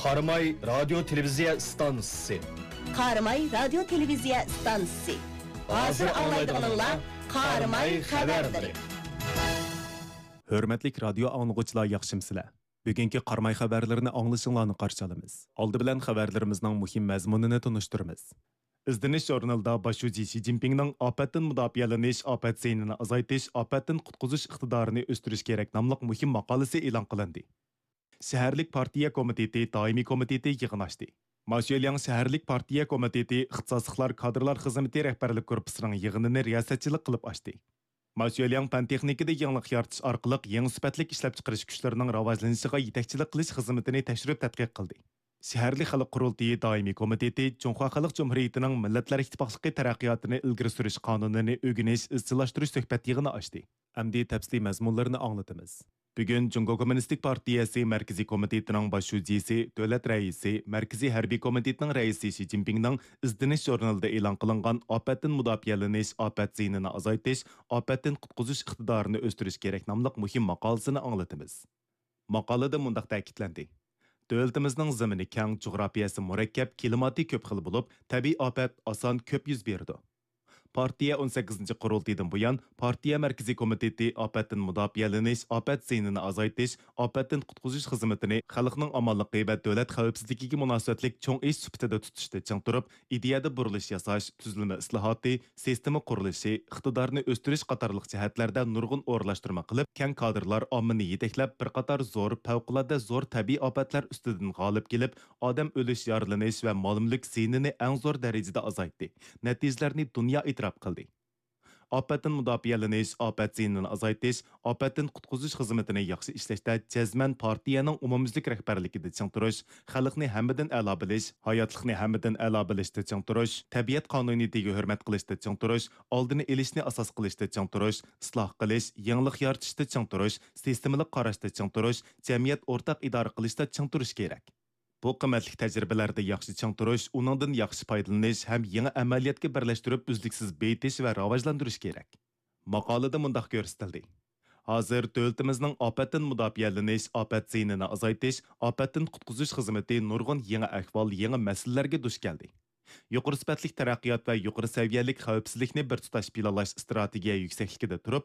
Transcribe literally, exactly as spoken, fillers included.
قاراماي رادىيو تېلېۋىزىيە ئىستانسىسى. قاراماي رادىيو تېلېۋىزىيە ئىستانسىسى. ھازىر ئاڭلايدىغىنىڭلار قاراماي خەۋەرلىرى. ھۆرمەتلىك رادىيو ئاڭلىغۇچىلار، ياخشىمسىلەر؟ بۈگۈنكى قاراماي خەۋەرلىرىنى ئاڭلىشىڭلارنى قارشى ئالىمىز. ئالدى بىلەن خەۋەرلىرىمىزنىڭ مۇھىم مەزمۇنىنى تونۇشتۇرىمىز. ئىزدىنىش ژۇرنىلىدا باش شۇجى شى جىنپىڭنىڭ ئاپەتتىن مۇداپىئەلىنىش، ئاپەت زىيىنىنى ئازايتىش، ئاپەتتىن قۇتقۇزۇش ئىقتىدارىنى ئۆستۈرۈش كېرەك ناملىق مۇھىم ماقالىسى ئېلان قىلىندى. شەھەرلىك پارتىيە كومىتېتى دائىمىي كومىتېتى يىغىن ئاچتى. ما شۈەلياڭ شەھەرلىك پارتىيە كومىتېتى ئىختىساسلىقلار كادىرلار خىزمىتى رەھبەرلىك گۇرۇپپىسىنىڭ يىغىنىنى رىياسەتچىلىك قىلىپ ئاچتى. ما شۈەلياڭ پەن تېخنىكىدا يېڭىلىق يارىتىش ئارقىلىق يېڭى سۈپەتلىك ئىشلەپچىقىرىش كۈچلىرىنىڭ راۋاجلىنىشىغا يېتەكچىلىك قىلىش خىزمىتىنى تەكشۈرۈپ تەتقىق قىلدى. شەھەرلىك خەلق قۇرۇلتىيى دائىمىي كومىتېتى جۇڭخۇا خەلق جۇمھۇرىيىتىنىڭ مىللەتلەر ئىتتىپاقلىقى تەرەققىياتىنى ئىلگىرى سۈرۈش قانۇنىنى ئۆگىنىش، ئىزچىللاشتۇرۇش سۆھبەت يىغىنى ئاچتى. ئەمدى تەپسىلىي مەزمۇنلىرىنى ئاڭلىتىمىز. بۈگۈن جۇڭگو كوممۇنىستىك پارتىيەسى مەركىزىي كومىتېتىنىڭ باش شۇجىسى، دۆلەت رەئىسى، مەركىزىي ھەربىي كومىتېتنىڭ رەئىسى شى جىنپىڭنىڭ ئىزدىنىش ژۇرنىلىدا ئېلان قىلىنغان ئاپەتتىن مۇداپىئەلىنىش، ئاپەت زىيىنىنى ئازايتىش، ئاپەتتىن قۇتقۇزۇش ئىقتىدارىنى ئۆستۈرۈش كېرەك ناملىق مۇھىم ماقالىسىنى ئاڭلىتىمىز. ماقالىدە مۇنداق تەكىتلەندى: دۆلىتىمىزنىڭ زېمىنى كەڭ، جۇغراپىيەسى مۇرەككەپ، كىلىماتى كۆپ خىل بولۇپ، تەبىئىي ئاپەت ئاسان كۆپ يۈز بېرىدۇ. پارتىيە ئون سەككىزىنچى قۇرۇلتىيىدىن بۇيان، پارتىيە مەركىزىي كومىتېتى ئاپەتتىن مۇداپىئەلىنىش، ئاپەت زىيىنىنى ئازايتىش، ئاپەتتىن قۇتقۇزۇش خىزمىتىنى خەلقنىڭ ئامانلىقى ۋە دۆلەت خەۋپسىزلىكىگە مۇناسىۋەتلىك چوڭ ئىش سۈپىتىدە تۇتۇشتا چىڭ تۇرۇپ، ئىدىيەدە بۇرۇلۇش ياساش، تۈزۈلمە ئىسلاھاتى، سىستېما قۇرۇلۇشى، ئىقتىدارنى ئۆستۈرۈش قاتارلىق جەھەتلەردە نۇرغۇن ئورۇنلاشتۇرما قىلىپ، كەڭ كادىرلار ئاممىنى يېتەكلەپ، بىر قاتار زور، پەۋقۇلئاددە زور تەبىئىي ئاپەتلەر ئۈستىدىن غالىب كېلىپ، ئادەم ئۆلۈش، يارىلىنىش ۋە مال-مۈلۈك زىيىنىنى ئەڭ زور دەرىجىدە ئازايتتى، نەتىجىلەرنى دۇنيا ئېتىراپ قىلدى. ئاپەتتىن مۇداپىئەلىنىش، ئاپەت زىيىنىنى ئازايتىش، ئاپەتتىن قۇتقۇزۇش خىزمىتىنى ياخشى ئىشلەشتە جەزمەن پارتىيەنىڭ ئومۇميۈزلۈك رەھبەرلىكىدە چىڭ تۇرۇش، خەلقنى ھەممىدىن ئەلا بىلىش، ھاياتلىقنى ھەممىدىن ئەلا بىلىشتە چىڭ تۇرۇش، تەبىئەت قانۇنىيىتىگە ھۆرمەت قىلىشتا چىڭ تۇرۇش، ئالدىنى ئېلىشنى ئاساس قىلىشتا چىڭ تۇرۇش، ئىسلاھ قىلىش، يېڭىلىق يارىتىشتا چىڭ تۇرۇش، سىستېمىلىق قاراشتا چىڭ تۇرۇش، جەمئىيەت ئورتاق ئىدارە قىلىشتا چىڭ تۇرۇش كېرەك. بۇ قىممەتلىك تەجرىبىلەردە ياخشى چىڭ تۇرۇش، ئۇنىڭدىن ياخشى پايدىلىنىش ھەم يېڭى ئەمەلىيەتكە بىرلەشتۈرۈپ ئۈزلۈكسىز بېيىتىش ۋە راۋاجلاندۇرۇش كېرەك. ماقالىدە مۇنداق كۆرسىتىلدى: ھازىر دۆلىتىمىزنىڭ ئاپەتتىن مۇداپىئەلىنىش، ئاپەت زىيىنىنى ئازايتىش، ئاپەتتىن قۇتقۇزۇش خىزمىتى نۇرغۇن يېڭى ئەھۋال، يېڭى مەسىلىلەرگە دۇچ كەلدى. يۇقىرى سۈپەتلىك تەرەققىيات ۋە يۇقىرى سەۋىيەلىك خەۋپسىزلىكنى بىر تۇتاش پىلانلاش ئىستراتېگىيە يۈكسەكلىكىدە تۇرۇپ،